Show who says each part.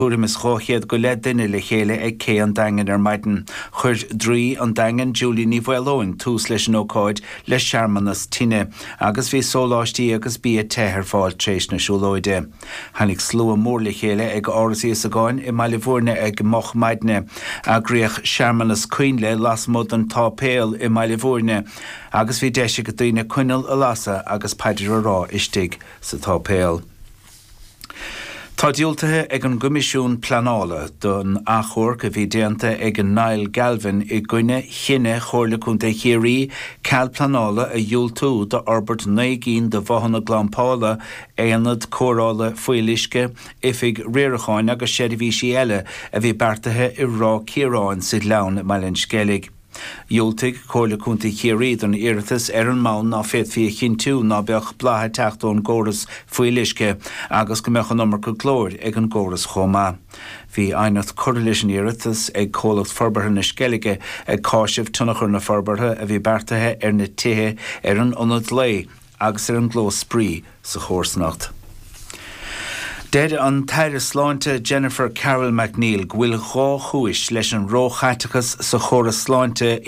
Speaker 1: Tuairim is 200 go leith duine le chéile ag Cé an Daingin ar maidin. Chuir Draoi an Daingin, Julie Ní Mhaoileoin, tús leis an ócáid le searmanas tine agus bhí sóláistí agus bia te ar fáil tréis na siúlóide. Tháinig slua mór le chéile ag Áras Íosagáin i mBaile Bhúirne ag moch maidne. Eagraíodh searmanas coinnle lasmuigh den tsáipéal i mBaile Bhúirne agus bhí deis ag daoine coinneal a lasadh agus paidir a rá istigh sa tsáipéal. Tá diúltaithe ag an gCoimisiún Pleanála don achomharc a bhí déanta ag Niall Galvin i gcoinne chinneadh Chomhairle Contae Chiarraí cead pleanála a dhiúltú d'fhorbairt 9 gcinn de bhothanna glampála, aonad cóireála fuíolluisce, oifig riaracháin agus seirbhísí eile a bhí beartaithe i Ráth Ciaráin sa Ghleann i mBaile an Sceilg. Dhiúltaigh Comhairle Contae Chiarraí don iarratas ar an mbonn ná féadfaí a chinntiú ná beadh bladh ag teacht ón gcóras fuíolluisce agus go mbeadh an iomarca glóir ag an gcóras chomh maith. Bhí aighneacht curtha leis an iarratas ag Comhlacht Forbartha na Sceilge ag cáiseamh tionchar na forbartha a bhí beartaithe ar na tithe, ar an ionad lae agus ar an gclós spraoi sa chomharsanacht. Deir an tAire Sláinte Jennifer Carroll MacNeill go bhfuil dhá chúis leis an róchaiteachas sa chóras sláinte.